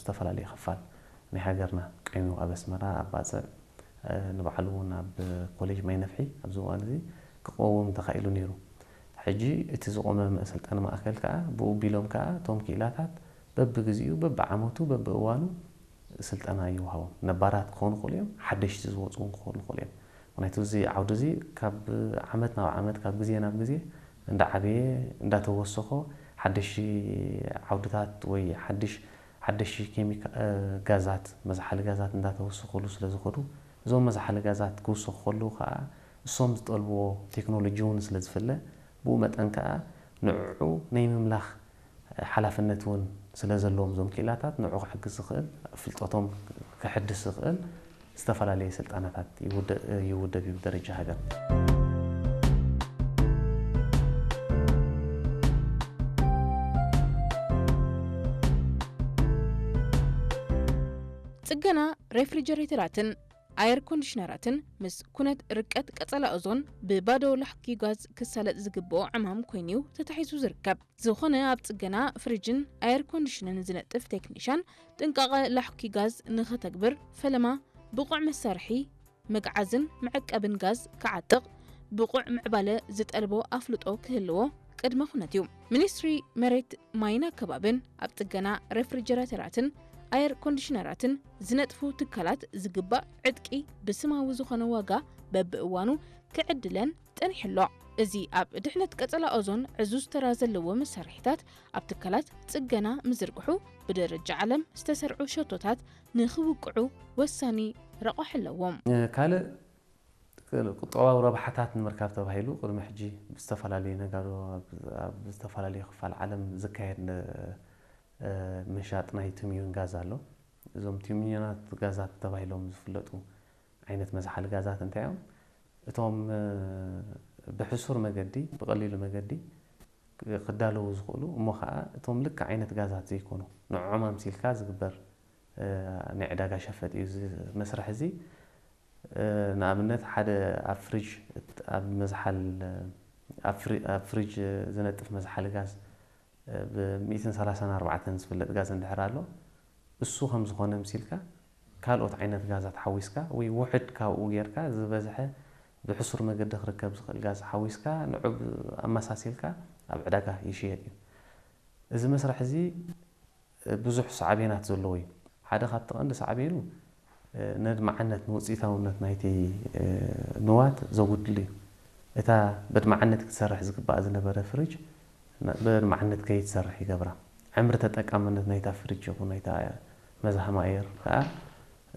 ዝተፈላለየ ክፋል ናይ ሃገርና ቀይሙ ኣብ ኣስመራ፣ ኣብ ባጽዕ፣ እ፣ ንባዕሉ እውን ኣብ ኮሌጅ ማይ ነፍሒ ኣብዚ እዋን እዚ ክቀውም ተኻኢሉ ነይሩ። ሕጂ እቲ ዝቆመ መ-፣ ስልጠና ማእከል ከኣ ብኡ ቢሎም ከኣ እቶም ክኢላታት በብግዚኡ፣ በብዓመቱ፣ በብእዋኑ ስልጠና ይወሃቦም። ነባራት ክኾኑ ይኽእሉ እዮም፣ ሓደሽቲ ዝወፁ እውን ክኾኑ ይኽእሉ እዮም። ምክንያቱ እዚ ዓውዲ እዚ ካብ ዓመት ናብ ዓመት፣ ካብ ግዜ ናብ ግዜ እንዳዓበየ፣ እንዳተወሰኾ፣ ሓደሽቲ ዓውድታት ወይ ሓድሽ፣ ሓደሽቲ ኬሚካ-፣ እ፣ ጋዛት፣ መዝሓሊ ጋዛት እንዳተወሰኹሉ ስለ ዝኸዱ፣ እዞም መዝሓሊ ጋዛት ክውሰኹ ከለዉ ከዓ እሶም ዝጠልብዎ ቴክኖሎጂ እውን ስለ ዝፍለ፣ ብኡ መጠን ከዓ ንዕዑ ናይ ምምላኽ ሓላፍነት እውን ስለ ዘለዎም እዞም ክኢላታት ንዕኡ ክሕግዝ ዝኽእል፣ ፍልጠቶም ክሕድስ ዝኽእል ዝተፈላለየ ስልጠናታት ይውደ-፣ ይውደብ እዩ ብደረጃ ሃገር። ጽገና ሬፍሪጀሬተራትን ኣየር ኮንዲሽነራትን ምስ ኩነት ርቀት ቀጸላ ኦዞን ብባዶ ላሕኪ ጋዝ ክሳለጥ ዝግብኦ ዕማም ኮይኑ'ዩ ተታሒዙ ዝርከብ። ዝኾነ ኣብ ጽገና ፍሪጅን ኣየር ኮንዲሽንን ዝነጥፍ ቴክኒሻን ጥንቃቐ ላሕኪ ጋዝ ንኸተግብር ፈለማ ብቑዕ መሳርሒ መግዓዝን መዐቀብን ጋዝ ክዓጥቕ ብቑዕ ምዕባለ ዝጠልቦ ኣፍልጦ ክህልዎ ቅድመ ኩነት እዩ። ሚኒስትሪ መሬት ማይን ኣከባብን ኣብ ጽገና ሬፍሪጀራተራትን ኣየር ኮንዲሽነራትን ዝነጥፉ ትካላት ዝግባእ ዕጥቂ ብስማዊ ዝኾነ ዋጋ በብእዋኑ ክዕድለን ጸኒሑ ኣሎ። እዚ ኣብ ድሕነት ቀጸላ ኦዞን ዕዙዝ ተራ ዘለዎ መሳርሒታት ኣብ ትካላት ጽገና ምዝርግሑ ብደረጃ ዓለም ዝተሰርዑ ሸቶታት ንኽውቅዑ ወሳኒ ረቋሒ ኣለዎም። ካልእ ቁጠባዊ ረብሓታት ንምርካብ ተባሂሉ ቅድሚ ሕጂ ብዝተፈላለዩ ነጋዶ ኣብ፣ ኣብ ዝተፈላለዩ ክፋል ዓለም ዝካየድ ን-፣ እ፣ ምሻጥ ናይ ቲምዩን ጋዝ ኣሎ። እዞም ቲምዩናት ጋዛት ተባሂሎም ዝፍለጡ ዓይነት መዝሓሊ ጋዛት እንታይ እዮም? እቶም፣ እ፣ ብሕሱር መገዲ፣ ብቐሊሉ መገዲ ክዳለዉ ዝኽእሉ፣ እሞ ኸዓ እቶም ልክዕ ዓይነት ጋዛት ዘይኮኑ፣ ንዕዖም ኣምሲልካ ዝግበር፣ እ፣ ናይ ዕዳጋ ሸፈጥ እዩ። እዚ መስርሕ እዚ፣ እ፣ ንኣብነት ሓደ ኣብ ፍሪጅ፣ ኣብ መዝሓል፣ ኣብ ፍሪ-፣ ኣብ ፍሪጅ ዝነጥፍ መዝሓሊ ጋዝ፣ እ፣ ብ ሚእትን ሰላሳን ኣርባዕተን ዝፍለጥ ጋዝ እንድሕር ኣሎ፣ እሱ ከም ዝኾነ ምሲልካ ካልኦት ዓይነት ጋዛት ሓዊስካ ወይ ውሕድ ካብኡ ጌርካ ዝበዝሐ ብሕሱር መገዲ ክርከብ ዝኽእል ጋዝ ሓዊስካ ንዑ ብ-፣ ኣመሳሲልካ ኣብ ዕዳጋ ይሽየጥ እዩ። እዚ መስርሕ እዚ ብዙሕ ሳዕቤናት ዘለዎ እዩ። ሓደ ካብቲ ቀንዲ ሳዕቤኑ፣ እ፣ ነድማዓነት ንውፅኢታውነት ናይቲ፣ እ፣ ንዋት ዘጉድል እዩ። እታ በድማዓነት ክትሰርሕ ዝግባእ ዝነበረ ፍሪጅ ን-፣ በድማዓነት ከይትሰርሕ ይገብራ። ዕምሪ ተጠቃምነት ናይታ ፍሪጅ ይኹን ናይታ መዝሃም ኣየር ከዓ፣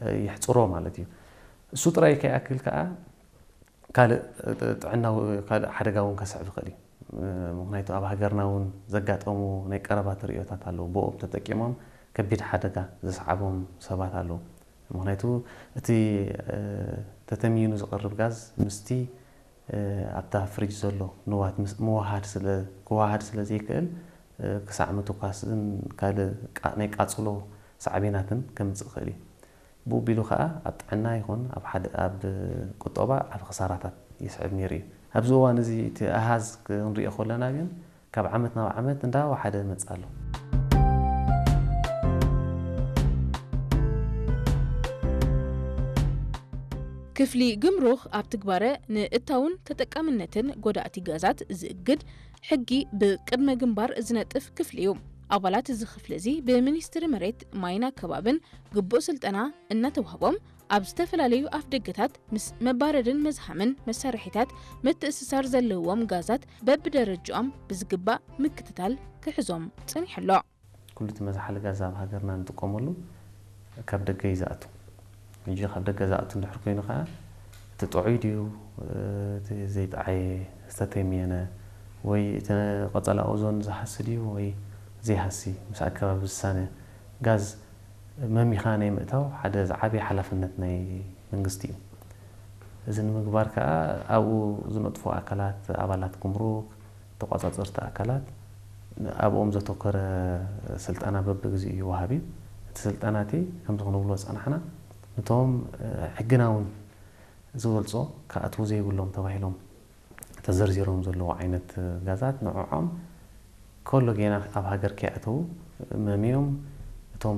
እ፣ የሕፅሮ ማለት እዩ። እሱ ጥራይ ከይኣክል ከዓ ካልእ ጥዕናዊ፣ ካልእ ሓደጋ እውን ከስዕብ ይኽእል እዩ። ምኽንያቱ ኣብ ሃገርና እውን ዘጋጠሙ ናይ ቀረባ ተርእዮታት ኣለዉ። ብኦም ተጠቂሞም ከቢድ ሓደጋ ዘስዓቦም ሰባት ኣለዉ። ምኽንያቱ እቲ፣ እ፣ ተተምይኑ ዝቐርብ ጋዝ ምስቲ፣ እ፣ ኣብታ ፍሪጅ ዘሎ ንዋት ምስ-፣ ምውሃድ ስለ፣ ክወሃድ ስለ ዘይክእል፣ እ፣ ክሳዕ ምትኳስን ካልእ ቃ-፣ ናይ ቃጽሎ ሳዕቤናትን ከምጽእ ይኽእል እዩ። ብኡ ቢሉ ኸኣ ኣብ ጥዕና ይኹን ኣብ ሓደ፣ ኣብ ቁጠባ ዓቢ ክሳራታት የስዕብ ነይሩ እዩ። ኣብዚ እዋን እዚ እቲ ኣሃዝ ክንሪኦ ከለና ግን ካብ ዓመት ናብ ዓመት እንዳወሓደ ይመጽእ ኣሎ። ክፍሊ ግምሩክ ኣብ ትግባረ ንእታውን ተጠቃምነትን ጎዳእቲ ጋዛት ዝእግድ ሕጊ ብቅድመ ግንባር ዝነጥፍ ክፍሊ እዩ። ኣባላት እዚ ክፍሊ እዚ ብሚኒስትሪ መሬት ማይን ኣከባብን ግቡእ ስልጠና እናተዋህቦም ኣብ ዝተፈላለዩ ኣፍደገታት ምስ መባረድን መዝሃምን መሳርሒታት ምትእስሳር ዘለዎም ጋዛት በብደረጃኦም ብዝግባእ ምክትታል ክሕዞም ጸኒሑ ኣሎ። ኩሉ እቲ መዝሓሊ ጋዝ ኣብ ሃገርና ንጥቀመሉ ካብ ደገ እዩ ዝኣቱ። ሕጂ ካብ ደገ ዝኣቱ እንድሕር ኮይኑ ከዓ እቲ ጥዑይ ድዩ፣ እቲ ዘይጠዓየ ዝተተምየነ፣ ወይ እቲ ቆጸላ ኦዞን ዝሃሲ ድዩ ወይ ዘይሃሲ ምስ ኣከባቢ ዝሳነ ጋዝ መሚኻ ናይ ምእታው ሓደ ዝዓበየ ሓላፍነት ናይ መንግስቲ እዩ። እዚ ንምግባር ከዓ ኣብኡ ዝነጥፉ ኣካላት፣ ኣባላት ጉምሩክ፣ ተቋጻጸርቲ ኣካላት ኣብኦም ዘተኮረ ስልጠና በብግዚኡ ይወሃብ እዩ። እቲ ስልጠና እቲ ከምዚ ክንብሎ ዝጸናሕና፣ ነቶም፣ እ፣ ሕግና እውን ዝበልጾ ክኣትዉ ዘይብሎም ተባሂሎም ተዘርዚሮም ዘለዉ ዓይነት ጋዛት ንዕዖም ከሎ ጌና ኣብ ሃገር ከይኣተዉ መምዮም እቶም